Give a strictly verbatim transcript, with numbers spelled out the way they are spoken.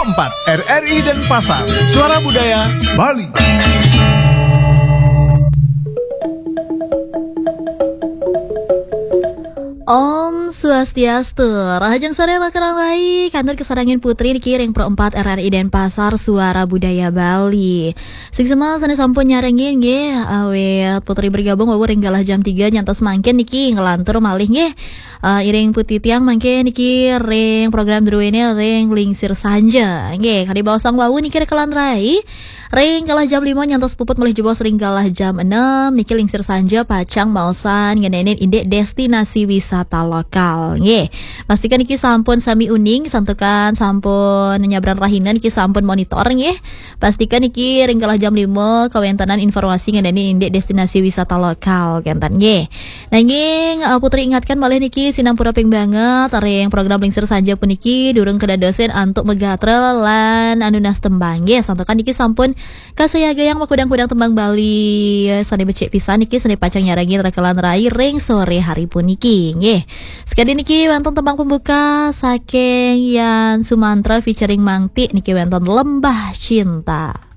empat R R I Denpasar, Suara Budaya Bali. Om Swastiastu. Rahajeng sore, rakan rai, kantun kasarengin Putri niki ring Pro empat R R I Denpasar, Suara Budaya Bali. Sing semeng sane sampun nyarengin nggih, awit Putri bergabung wau ring galah jam tiga nyantos mangkin niki nglantur malih nggih. Eh, iring Putri tiang mangkin niki ring program druene ring Lingsir Sanja. Nggih, kadi baosang wau niki, rakan rai. Ring galah jam lima nyantos puput malih jebos ring galah jam enam niki Lingsir Sanja pacang maosan ngenenin indik destinasi wisata lokal. Nggih. Pastikan niki sampun sami uning, santukan sampun nyabran rahina niki sampun monitor nggih. Pastikan niki ring galah jam lima kawentenan informasi ngenenin indik destinasi wisata lokal kenten nggih. Nanging, eh, Putri ingatkan malih niki sinampura ping banget ring program Lingsir Sanja puniki durung kedadosin antuk magatra lan anunas tembang nggih. Santukan niki sampun kasayagayang makudang-kudang tembang Bali sane becik pisan niki sane pacang nyarengin rakan rai ring sore hari puniki nggih. Sekadi niki wenten tembang pembuka saking Yan Sumantra featuring Mang Ti niki wenten Lembah Cinta.